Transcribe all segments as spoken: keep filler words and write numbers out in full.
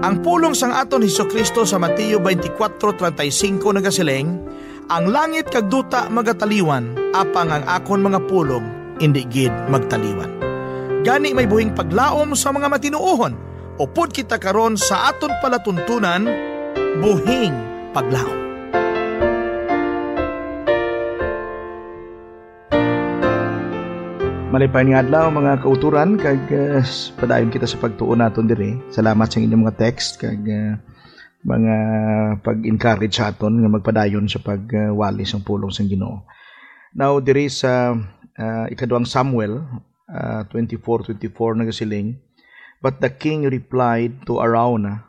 Ang pulong sang aton Jesu-Cristo sa Mateo twenty-four thirty-five nagasiling, "Ang langit kag duta magataliwan, apang ang akon mga pulong indi gid magtaliwan." Gani, may buhing paglaom sa mga matinuohon, upod kita karon sa aton palatuntunan, buhing paglaom. Malipay nga adlaw, mga kauturan, kag, uh, padayon kita sa pagtuon naton diri. Salamat sa inyong mga text kag, uh, mga pag-encourage sa aton nga magpadayon sa pagwali sang pulong sang Ginoo. Now, diri sa, uh, ikaduhang Samuel, uh, twenty-four twenty-four nagasiling, "But the king replied to Araunah,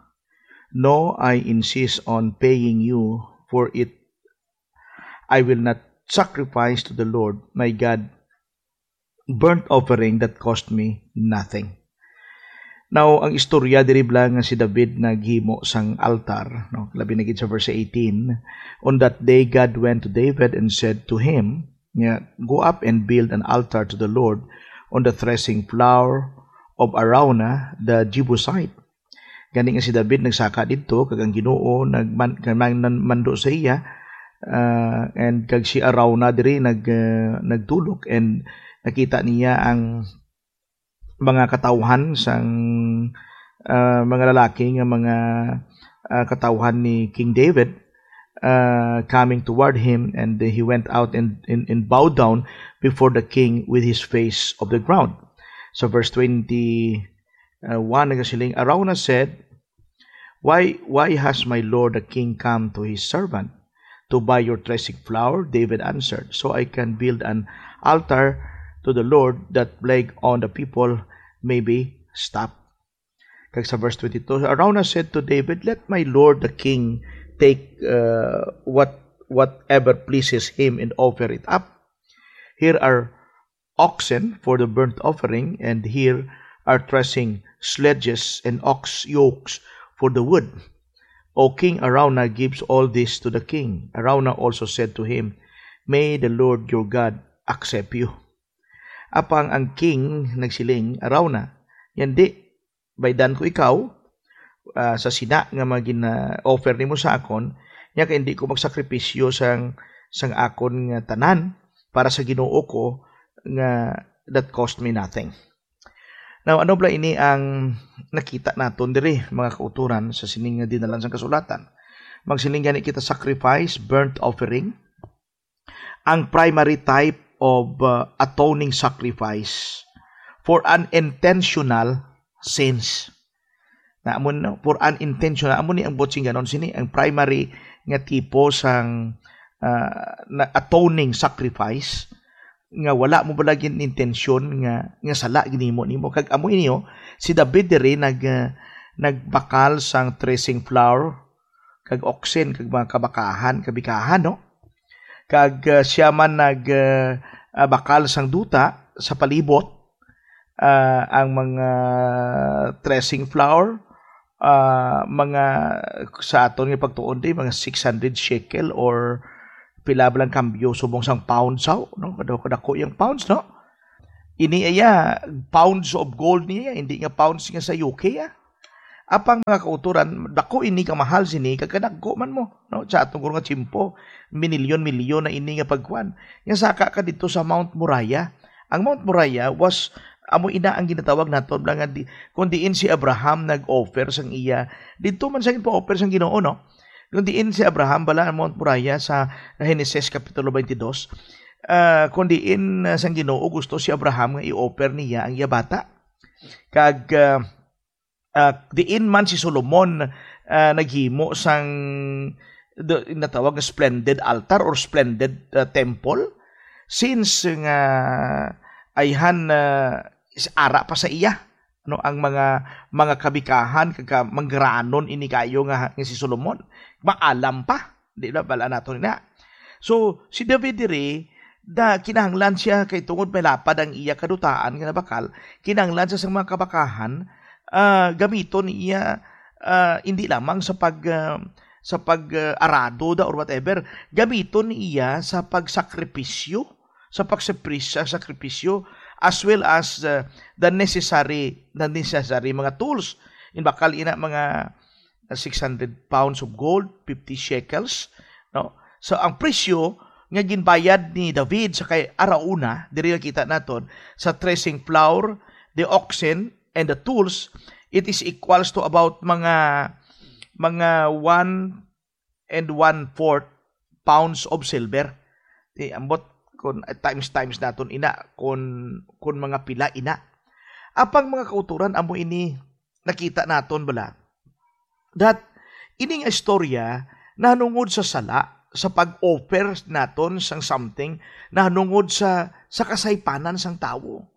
'No, I insist on paying you for it. I will not sacrifice to the Lord my God burnt offering that cost me nothing.'" Now, ang istorya diri bala nga si David naghimo sang altar, no? Labi na gid sa verse eighteen, "On that day God went to David and said to him, nga, 'Go up and build an altar to the Lord on the threshing floor of Araunah the Jebusite.'" Gani nga si David nagsaka didto, kag ang Ginoo nagman-, nagman-, mando sa iya, ah, and kag si Araunah diri nag-, ah, nagtulok, and nakita niya ang mga katawhan sang, ah, mga lalaki nga mga, ah, katawhan ni King David, ah, coming toward him, and he went out and, and, and bowed down before the king with his face of the ground. So verse twenty, uh, one nagasiling, Araunah said, "Why, why has my lord the king come to his servant to buy your threshing floor?" David answered, "So I can build an altar to the Lord, that plague on the people may be stopped." Kag sa verse twenty-two, Araunah said to David, "Let my lord the king take, uh, what, whatever pleases him and offer it up. Here are oxen for the burnt offering, and here are threshing sledges and ox yokes for the wood." O king, Araunah gives all this to the king. Araunah also said to him, "May the Lord your God accept you." Apang ang king nagsiling, Araunah, "Yandi, baydan ko ikaw, ah, sa sina nga mga gina-offer nimo sa akon, nya kay hindi ko magsakripisyo sang, sang akon nga tanan para sa Ginoo ko nga that cost me nothing." Now, ano bala ini ang nakita naton diri, mga kauturan, sa sining nga dinalan sang kasulatan? Magsiling gani kita, sacrifice, burnt offering, ang primary type of, uh, atoning sacrifice for an intentional sins. Na amo, no? For an intentional, amo ni ang buot sing ganon sini, ang primary nga tipo sang, uh, na atoning sacrifice nga wala mo bala gid intensyon nga, nga sala ginimo nimo. Kag amo ini, oh, si David diri nag, uh, nagbakal sang threshing floor, kag oxen, kag mga kabakahan, kabikahan, no? Kag, ah, sia man nag, ah, ah, bakal sang duta sa palibot, ah, ang mga threshing floor, ah, mga, sa aton nga pagtuon di, mga six hundred shekel or pila ba lang kambyo subong sang pounds, aw, no? Kadako, kadako yang pounds, no? Ini iya, pounds of gold niya, hindi nga pounds nga sa U K, ah. Apang mga kauturan, dako ini, kamahal sini, kag kadagko man mo, no? Sa atong guro nga tiyempo, minilyon-milyon na ini nga pagkuan. Nga saka ka dito sa Mount Moriah. Ang Mount Moriah was, amo ina ang ginatawag naton nga di, kung diin si Abraham nag-offer sang iya, dito man sa pa-offer sang Ginoo, no? Kung diin si Abraham, bala ang Mount Moriah sa Genesis Kapitulo twenty-two, ah, kung diin, ah, sang Ginoo gusto si Abraham nga i-offer niya ang iya bata. Kag, ah, ah, diin man si Solomon, ah, naghimo sang, do, natawag nga splendid altar or splendid, ah, temple, since nga ayhan, ah, is ara pa sa iya, no, ang mga, mga kabikahan kag ka-, manggaranon ini kayo nga, nga si Solomon. Maalam pa, di ba? Bala nato na. So, si David diri, da, kinahanglan siya kay tungod may lapad ang iya kadutaan nga nabakal, kinahanglan siya sa mga kabakahan, ah, gamiton iya, ah, hindi lamang sa pag, ah, sa pag, ah, arado da or whatever, gamiton iya sa pagsakripisyo, sa pagsakri-, sa sakripisyo, as well as, ah, the necessary, the necessary mga tools. In bakal ina mga six hundred pounds of gold, fifty shekels, no? So, ang presyo nga ginbayad ni David sa kay Arauna, diri nakita naton, sa threshing floor, the oxen, and the tools, it is equals to about mga, mga one and one-fourth pounds of silver. Di, ambot kun, eh, times, times naton ina, kun, kun mga pila ina. Apang mga kauturan, amo ini nakita naton bala, that ini nga istorya nahanungod sa sala, sa pag-offer naton sang something, nahanungod sa, sa kasaypanan sang tawo.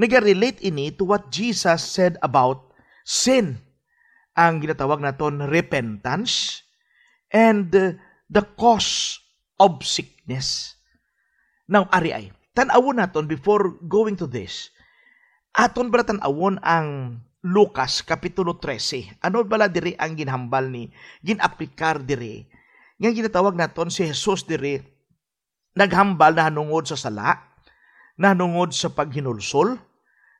Naga-relate ini to what Jesus said about sin, ang ginatawag naton repentance, and, uh, the cause of sickness. Now, ari ay, tan-awon naton before going to this. Aton bala tan-awon ang Lucas Kapitulo trese. Ano bala diri ang ginhambal ni, gin-aplikar diri? Nga ginatawag naton si Jesus diri, naghambal nahanungod sa sala, nahanungod sa paghinulsol,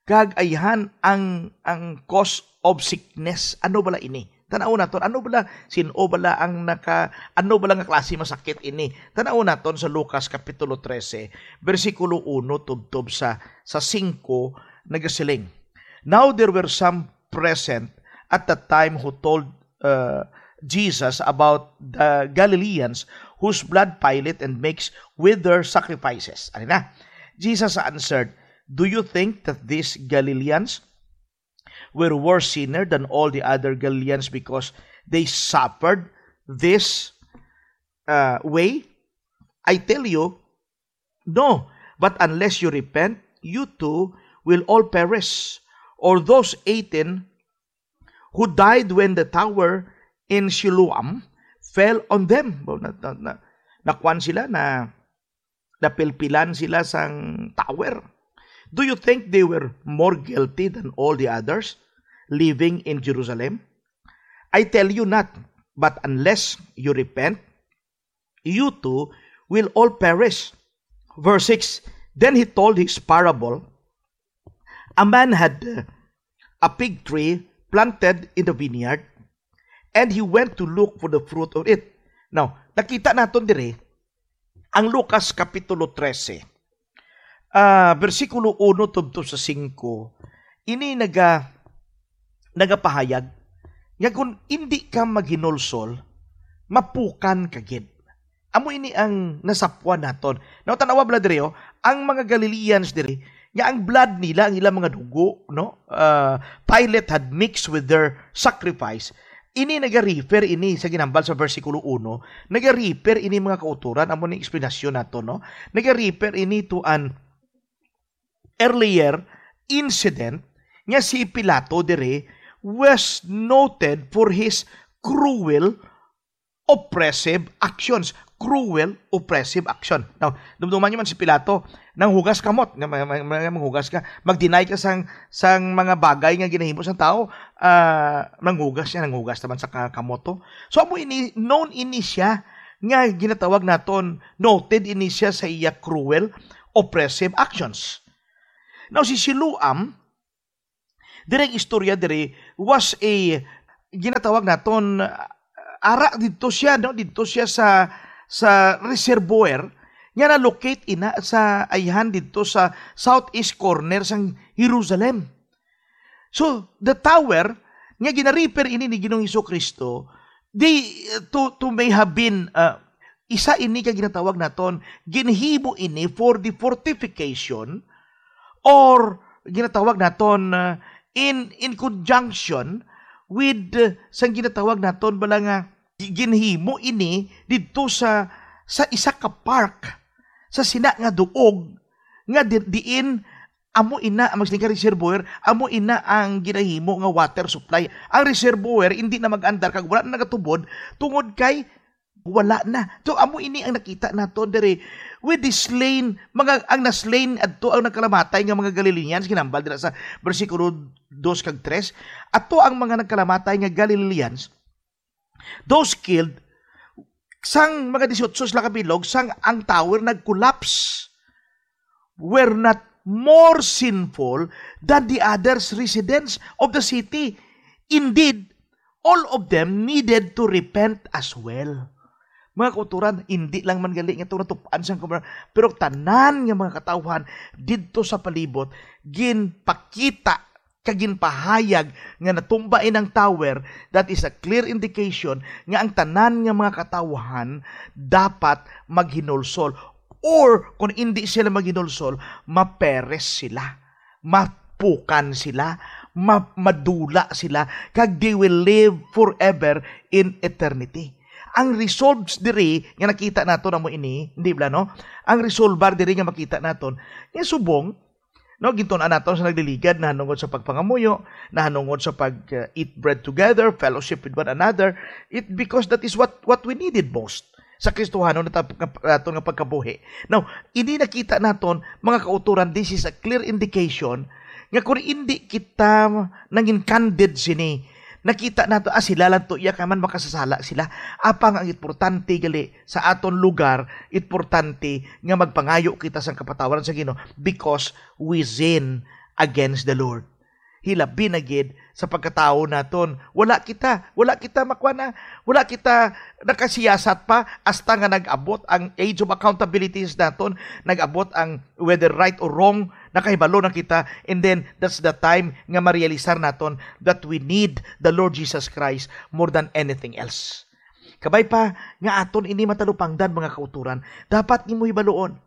kag ayhan ang, ang cause of sickness. Ano bala ini? Tan-awon naton, ano bala, sin-o bala ang naka, ano bala nga klase masakit ini? Tan-awon naton sa Lucas Kapitulo trese, bersikulo uno tubtob sa, sa singko, nagasiling, "Now there were some present at that time who told, uh, Jesus about the Galileans whose blood Pilate and makes with their sacrifices." Ano na? Jesus answered, "Do you think that these Galileans were worse sinner than all the other Galileans because they suffered this, uh, way? I tell you, no, but unless you repent, you too will all perish. Or those eighteen who died when the tower in Siloam fell on them." Ba, na, na, na, nakuan sila, na, napilpilan sila sang tower. Do you think they were more guilty than all the others living in Jerusalem? I tell you not, but unless you repent, you too will all perish. Verse six, then he told his parable. A man had, uh, a fig tree planted in the vineyard, and he went to look for the fruit of it. Now, nakita naton diri ang Lucas Kapitulo trese, ah, bersikulo uno tubtob sa singko. Ini naga-, nagapahayag nga kung indi ka maghinulsol, mapukan ka gid. Amo ini ang nasapwan naton. Now, tan-awa bala diri, oh, ang mga Galileans diri, nga ang blood nila, ang ilang mga dugo, no? Uh, Pilate had mixed with their sacrifice. Ini naga-refer ini sa ginhambal sa bersikulo uno, naga-refer ini, mga kauturan, amo ni eksplanasyon nato, no? Naga-refer ini to an earlier incident nga si Pilato diri was noted for his cruel, oppressive actions. Cruel, oppressive action. Now, dumduman niyo man si Pilato, nanghugas kamot, nga ma-, ma-, ma-, manghugas ka, mag-deny ka sang, sang mga bagay nga ginahimo sang tao, ah, nanghugas siya, nanghugas naman sa ka-, kamot to. So, amo ini, known ini siya nga ginatawag naton, noted ini siya sa iya cruel, oppressive actions. Now, si Siloam, diri ang istorya diri, was a, ginatawag naton, uh, ara didto siya, no? Didto siya sa, sa reservoir nga na-locate ina sa ayhan didto sa southeast corner sang Jerusalem. So, the tower nga gina-refer ini ni Ginoong Jesu-Cristo, di, to, to may have been, uh, isa ini ka ginatawag naton, ginhimo ini for the fortification or ginatawag naton, uh, in, in conjunction with, uh, sang ginatawag naton bala nga gi-, ginhimo ini didto sa, sa isa ka park, sa sina nga duog nga di-, diin amo ina ang magsiling ka reservoir, amo ina ang ginahimo nga water supply. Ang reservoir hindi na mag-andar kag wala na nagatubod tungod kay wala na. So, amo ini ang nakita nato diri with the slain, mga, ang na-slain adto ang nagkalamatay nga mga Galileans, ginambal dira sa bersikulo dos kag tres. Ato ang mga nagkalamatay nga Galileans, those killed, sang mga dieciocho sila kabilog, sang ang tower nag-collapse, were not more sinful than the others residents of the city. Indeed, all of them needed to repent as well. Mga kauturan, hindi lang man gali nga itong natupan sang kumar-, pero tanan nga mga katawhan didto sa palibot, ginpakita kag ginpahayag nga natumba inang tower, that is a clear indication nga ang tanan nga mga katawhan dapat maghinulsol. Or kung hindi sila maghinulsol, maperes sila, mapukan sila, ma-, madula sila, kag they will live forever in eternity. Ang results diri nga nakita naton amo ini, hindi bala, no? Ang resulbar diri nga makita naton, nga subong, no, gintun-an naton sa nagliligad, nahanungod sa pagpangamuyo, nahanungod sa pag, uh, eat bread together, fellowship with one another, it, because that is what, what we needed most sa Kristohanon nga tap-, nga, aton nga pagkabuhi. Now, ini nakita naton, mga kauturan, this is a clear indication nga kung hindi kita nangin candid sini, nakita nato, ah, sila lang to, iya ka man makasasala sila. Apang ang importante gali sa aton lugar, importante nga magpangayo kita sang kapatawaran sa Ginoo because we sin against the Lord. Hilabi na gid sa pagkatawo naton. Wala kita, wala kita makwana, wala kita nakasiyasat pa hasta nga nag-abot ang age of accountability sa naton, nag-abot ang whether right or wrong, nakahibalo na kita, and then that's the time nga marealisar naton that we need the Lord Jesus Christ more than anything else. Kabay pa nga aton ini matalupangdan, mga kauturan, dapat nimo hibaluon,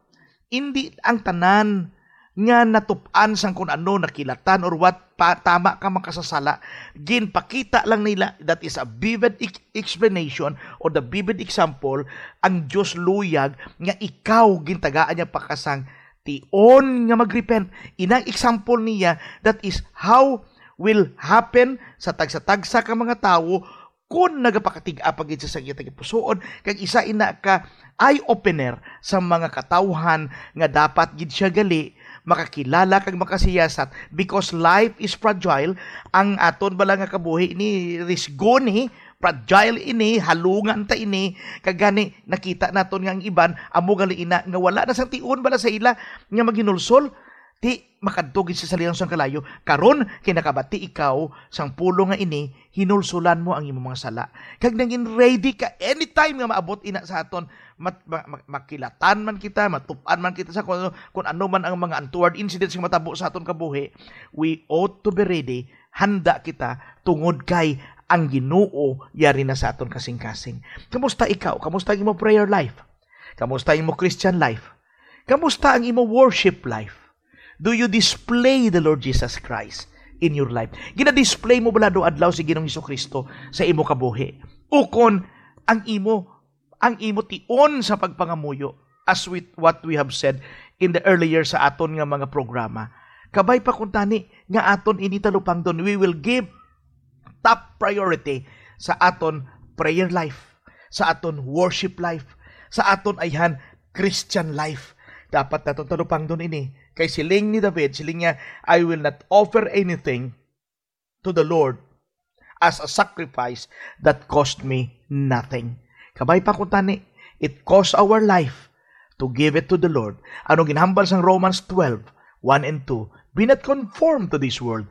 indi ang tanan nga natup-an sang kun ano, nakilatan or what, pa, tama ka makasasala, ginpakita lang nila, that is a vivid ex-, explanation or the vivid example, ang Dios luyag nga ikaw gintagaan niya pa ka sang tion nga magrepent. Inang example niya, that is how will happen sa tagsa-tagsa ka mga tawo kon nagapakatig-a pa gid sa iya tagipusoon, kag isa ina ka eye-opener sa mga katawhan nga dapat gid siya gali makakilala kag makasiyasat, because life is fragile. Ang aton bala nga kabuhi ni risgo ni, fragile ini, halungan ta ini, kag gani nakita naton nga ang iban amo gali ina nga wala na sang tion bala sa ila nga maghinulsol. Ti makadto gid sa salinan sang kalayo. Karon, kay nakabati ikaw sang pulong nga ini, hinulsulan mo ang imong mga sala. Kag nangin ready ka anytime nga maabot ina sa aton. Mat-, ma-, ma-, makilatan man kita, matup-an man kita sa kung, kung ano man ang mga untoward incidents nga matabo sa aton kabuhi, we ought to be ready. Handa kita tungod kay ang Ginoo yari na sa aton kasing-kasing. Kamusta ikaw? Kamusta ang imong prayer life? Kamusta ang imong Christian life? Kamusta ang imong worship life? Do you display the Lord Jesus Christ in your life? Gina-display mo bala adlaw-adlaw si Ginoong Jesu-Cristo sa imo kabuhi? Ukon ang imo, ang imo tion sa pagpangamuyo, as with what we have said in the earlier sa aton nga mga programa? Kabay pa kuntani nga aton ini talupangdon, we will give top priority sa aton prayer life, sa aton worship life, sa aton ayhan Christian life. Dapat naton talupangdon ini. Kay siling ni David, siling niya, "I will not offer anything to the Lord as a sacrifice that cost me nothing." Kabay pa kuntani, it cost our life to give it to the Lord. Ano ginhambal sang Romans twelve, one and two? "Be not conformed to this world."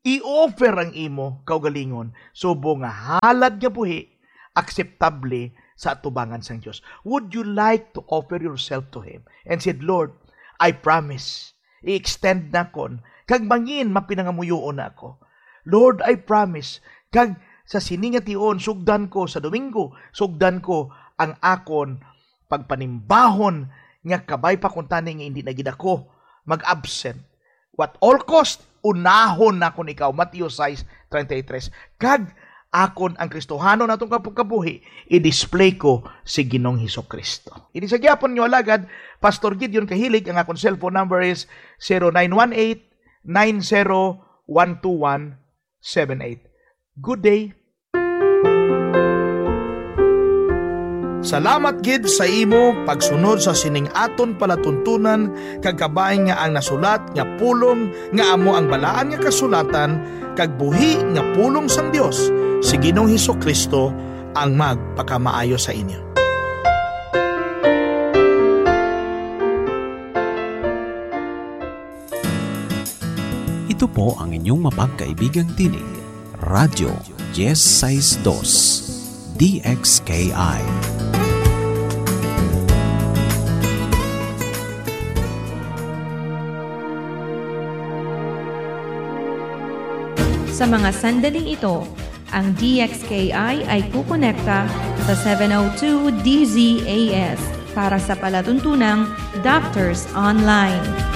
I-offer ang imo kaugalingon subong nga halad nga buhi, akseptable sa atubangan sang Dios. Would you like to offer yourself to Him and said, "Lord, I promise, i-extend na kon, kag mangin mapinangamuyoon na ako. Lord, I promise, kag sa sini nga tion, sugdan ko sa Domingo, sugdan ko ang akon pagpanimbahon nga kabay pa kuntani nga hindi na gid ako mag-absent. What all cost, unahon nakon ikaw." Mateo sais treinta y tres. Kag akon ang Kristohanon atong kap-, kabuhi, i-display ko si Ginoong Jesu-Cristo. Ini sa gihapon nyo alagad, Pastor Gideon Kahilig. Ang akon cellphone number is zero nine one eight, nine zero one two one seven eight. Good day. Salamat gid sa imo pagsunod sa sining aton palatuntunan, kag kabay nga ang nasulat nga pulong nga amo ang Balaan nga Kasulatan kag buhi nga pulong sang Dios, si Ginoong Jesu-Cristo ang magpakamaayo sa inyo. Ito po ang inyong mapagkaibigang tinig, Radyo diyes sais dos, D X K I. Sa mga sandaling ito, ang D X K I ay kukonekta sa seven oh two D Z A S para sa palatuntunang Doctors Online.